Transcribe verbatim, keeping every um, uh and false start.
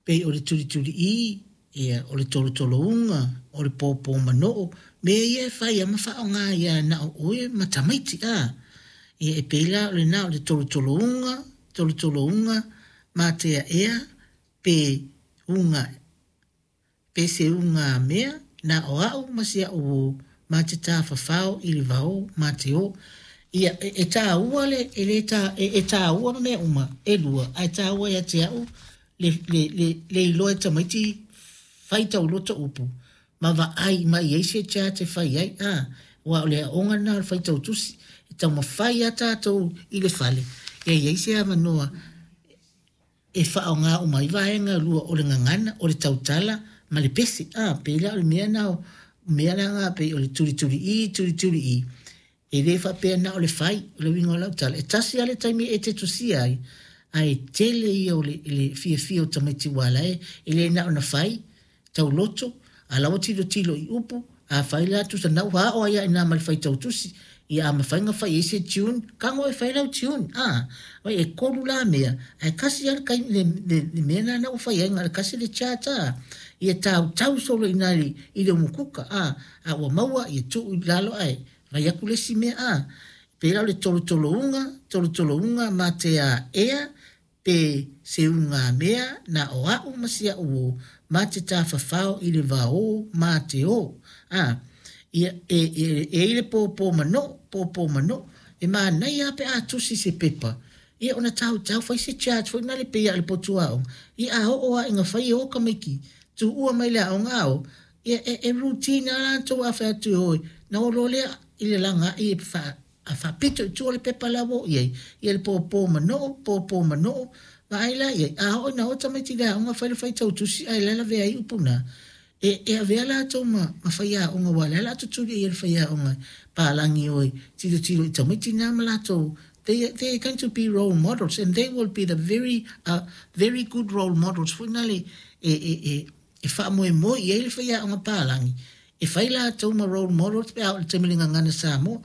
Pei o le tulituliʻī, ia, o le tolotolo-uga, o le pōpō manoo, mea ia e fai lava ma faaaoga ia na o oe ma tamaiti a. Ia e pei la o lena o le tolotolo-uga, tolotolo-uga, mateaʻea pe uga pe se ugamea na o a'u ma si a'u uō ma te tafafao i le vaō ma te ō. Ia e, e tāua le e le tā, e, e tāua mea uma e lua ae tāua ia te a'u le, le, le, le iloa e tamaiti fai tauloto upu ma vaai mai i ai se chart e fai ai a ua o le aoga lena o le faitau tusi e taumafai a tatou i le fale ia i ai se avanoa e faaaoga uma ai vaega e lua o le gagana o le tautala ma le pese a pei la o le mea na o mea la na pei o le tulituliʻī tulituliʻī e le faapea na o le fai o le uiga o lau tala e tasi a le taimi e te tusia ai ae tele ia o le, le fiafia o tamaiti ua ala e e le na ona fai tauloto a la ua tilotilo i upu a fai la tusa na ua ao ai ina ma le faitau tusi ia a mafai ona fai ai se tune tago e fai lau tune a oi e tolu la mea ae kasi a le, le, le, le mea na na ua fai ai na le kasi le chart a ia tautau solo ina i, i le umukuka a a ua maua ia tuu i lalo ae vai atu le isi mea a pei la o le tolotolo-uga tolotolo-uga ma te aʻea pe se ugamea na o a'u ma si a'u uō ma te tafafao i le vaō ma te ō a ia e, e, e i le pōpō manoo pōpō manoo e manaia pe a tusi se pepa ia ona tautau fai se chart foi na le pei a le potu aoga ia a oo a ina fai e o tamaiti tuua mai le aoga ao ia e, e routine a latou a fai atu e oi na o loa lea i le lagaai e fa a faapito i tua le pepa la ua oo i ai ia le pōpō manoo pōpō manoo vaai la i ai a oo ina o tamaiti i le aoga fai le faitau tusi ae la lavea ai upu na e, e avea latou ma, ma faiaoga ua le la tutuli ai le faiaoga palagi oi tilotilo i tamaiti na ma latou they, they are going to be role models and they will be the very uh, very good role models foi na le e, e, e, e faamoemoe i ai le faiaoga palagi e fai latou ma role models pe a o le taimi le gagana Samoa.